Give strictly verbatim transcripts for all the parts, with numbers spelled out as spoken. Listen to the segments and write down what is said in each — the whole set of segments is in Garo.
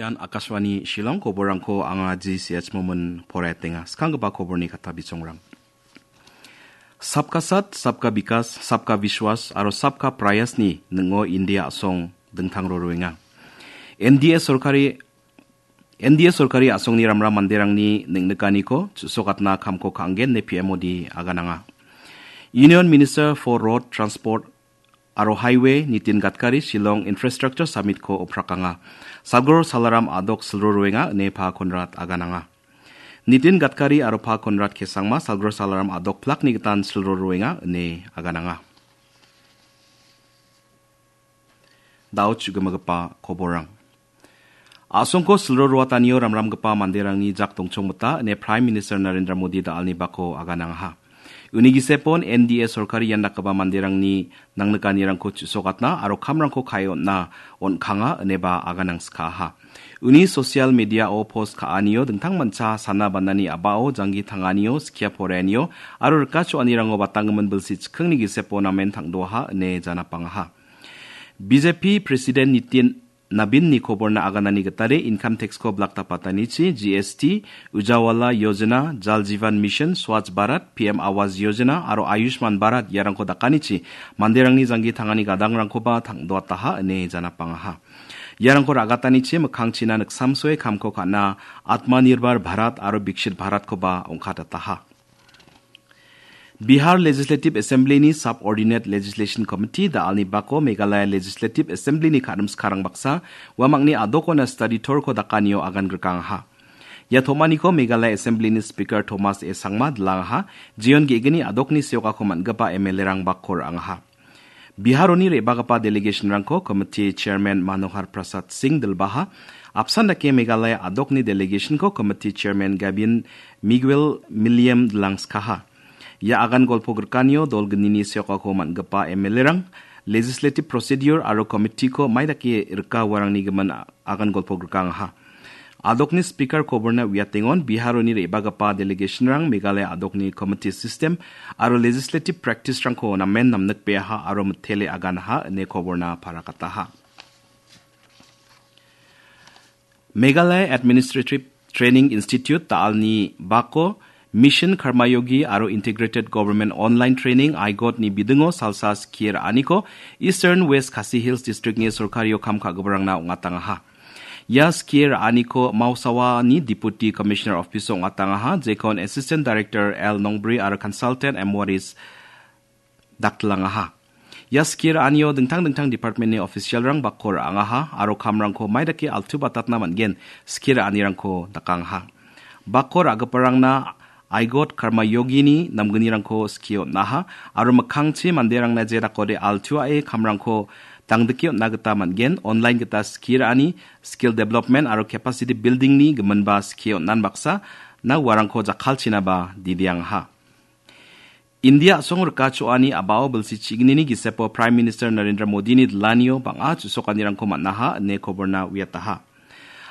Ian Akashvani Shillong, koborrangko anga G C H Momin poraetenga. Skanggipa koborni kata bisongrang. Sabka Sat, Sabka Bikas, Sabka Vishwas aro Sabka Prayasni ning·o India a·song dingtang roroenga. N D A sorkari, N D A sorkari a·songni ramram manderangni neng·nikaniko chu·sokatna kamko ka·angen ine P M Modi agananga. Union Minister for Road Transport aro Highway Nitin Gadkari Shillong Infrastructure Summit-ko oprakanga. Salgro Salaram a·dok silroroenga ine Pa Conrad agananga. Nitin Gadkari aro Pa Conrad K Sangma Salgro Salaram a·dok plakni gitan silroroenga ine agananga. Da·o chu·gimagipa koborrang. A·songko silro roatanio ramramgipa manderangni jak dongchongmita ine Prime Minister Narendra Modi da·alni bako aganangaha. Uni gisepon N D A sorkari ian dakgipa manderangni nangnikanirangko chu·sokatna aro kamrangko ka·e on·na on·kanga ineba aganangskaha. Uni social media-o post ka·anio dingtang mancha sana banani a·bao janggi tanganio, skia poreanio aro rika cho·anirango batanggimin bilsi chikkingni gisepo namen tangdoaha ine janapangaha. B J P President Nitin Nabinni koborna aganani gitade income tax-ko blak dapatanichi G S T, Ujawala Yojana, Jal Jeevan Mission, Swachh Bharat, P M Awas Yojana aro Ayushman Bharat iarangko dakanichi manderangni janggi tangani gadangrangkoba tangdoataha ine janapangaha. Iarangko ra·gatanichi mikkangchina niksamsoe kamko ka·na Atmanirbhar Bharat aro Viksit Bharatkoba ong·katataha. Bihar Legislative Assembly-ni Subordinate Legislation Committee da·alni bako Meghalaya Legislative Assembly-ni ka·rimskarang baksa uamangni a·dokona study tour-ko dakanio agan grikangaha. Ia tom·aniko Meghalaya Assembly-ni Speaker Thomas A Sangma dilangaha, jeon ge·gni a·dokni seokako man·gipa M L A-rang bako ra·angaha. Biharoni re·bagipa delegation-rangko Committee Chairman Manohar Prasad Singh dilbaha, apsan dake Meghalaya a·dokni delegation-ko Committee Chairman Gabin Miguel Milliam dilangskaha. Ia agan golpo grikanio dol gnini seokako man·gipa M L A-rang, legislative procedure aro committee-ko mai dake rika uarangni gimin a-, agan golpo grikangaha. A·dokni Speaker koborna uiatengon Biharoni re·bagipa delegation-rang Meghalaya a·dokni committee system aro legislative practice-rangko namen namnikbeaha aro mitele aganaha ine koborna parakataha. Meghalaya Administrative Training Institute da·alni bako Mission Karmayogi aro Integrated Government Online Training, aigot-ni bidingo salsa skie ra·aniko Eastern West Khasi Hills District-ni sorkario kam ka·giparangna ong·atangaha. Ia skie ra·aniko Mausawani Deputy Commissioner Office-o ong·atangaha, jekon Assistant Director L Nongbri aro Consultant M Waris daktilangaha. Ia skie ra·anio dingtang dingtang department-ni official-rang bako ra·angaha aro kamrangko mai dake altu batatna man·gen skie ra·anirangko dakangaha. Bako ra·giparangna aigot Karma Yogini namgnirangko skie on·aha aro mikkangchi manderangna jedakode altuae kamrangko dangdike on·na gita man·gen, online gita skie ra·ani, skill development aro capacity building-ni giminba skie on·an baksa na uarangko jakkalchinaba didiangaha. India a·song rika cho·ani a·bao bilsi chignini gisepo Prime Minister Narendra Modini dilanio bang·a chu·sokanirangko man·aha ine koborna uiataha.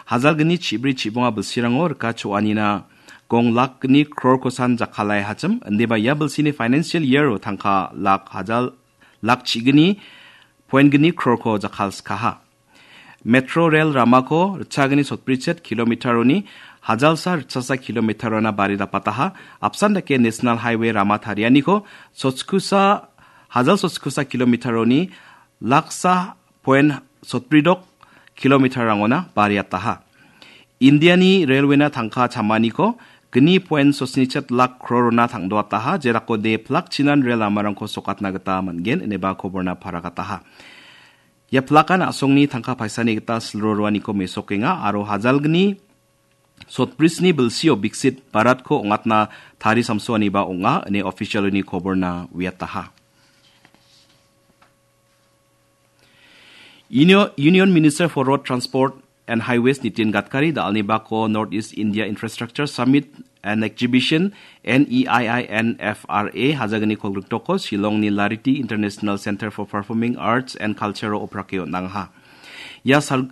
Hajalgni chibri chibonga bilsirango rika cho·anina gong lakgni krorkosan jakkalai hachim, indiba ia bilsini financial year-o tangka lak hajal, lak chigni point gni krorko jakkalskaha. Metro rel ramako ritchagni sotbrichet kilometer-oni hajalsa ritchasa kilometer-ona bari dapataha, apsan dake National Highway rama tarianiko sotkusa, hajal sotkusa kilometer-oni laksa point sotbridok kilometer-rangona bariataha. Indiani railway-na tangka chamaniko gni point sotnichet lak krorona tangdoataha, jerako de plak chinan rel lamarangko sokatna gita man·gen, ineba koborna paragataha. Ia plakan a·songni tangka paisani gita silro roaniko mesokenga aro hajalgni sotbrisni bilsio Viksit Bharatko ong·atna tari samsoaniba ong·a, ine official-oni koborna uiataha. Unio-, Union Minister for Road Transport and Highways Nitin Gadkari da·alni bako North East India Infrastructure Summit and Exhibition, N E I I N F R A, hajagni kolgriktoko Shillongni Lariti International Center for Performing Arts and Culture-o oprake on·angaha. Ia sal-,